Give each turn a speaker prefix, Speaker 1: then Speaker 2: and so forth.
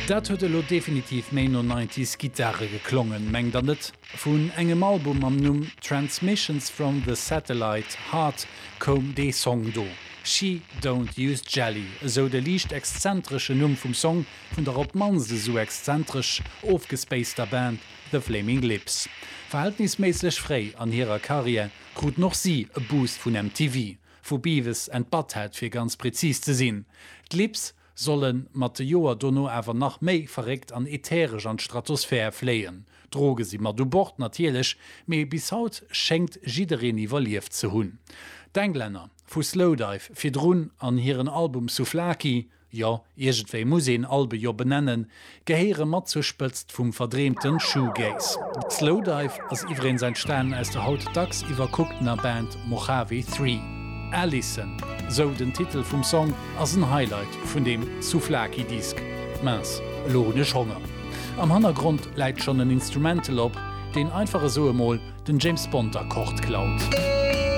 Speaker 1: Dat huet elo definitiv méi no Nineties Gittare geklongen, mengt der net? Vun engem Album mam Numm Transmissions from the Satellite Heart koum dee Song do. She Don't Use Jelly, esou de liicht exzentresche Numm vum Song vun der op d'mannst esou exzentresch ofgespaceter Band The Flaming Lips. Verhältnisméisseg fréi an hirer Karriär kruten och si e Boost vun MTV, vu Beavis and Butthead fir ganz prezis ze sinn. D'Lips solle mat de Joer dono awer nach méi verréckt an ätheresch an d'Stratosphär fléien. Droge si mat u Bord natierlech, mee bis haut schéngt jiddereen iwwerlieft ze hunn. D'Englänner vu Slowdive virdrun an hiren Album Souvlaki, jo, iergendwéi muss een Albe jo benennen, gehéiere mat zur Spëtzt vum verdreemten Shoegaze. Slowdive ass iwwereens entstanen aus der haut dacks iwwerkucktener Band Mojave 3. Alison, sou den Titel vum Song, ass en Highlight vun deem Souvlaki-Disk. Mince, elo hunn ech Honger. Am Hannergrond läit schonn en Instrumental op, deen einfach esou emol den James Bond Akkord klaut.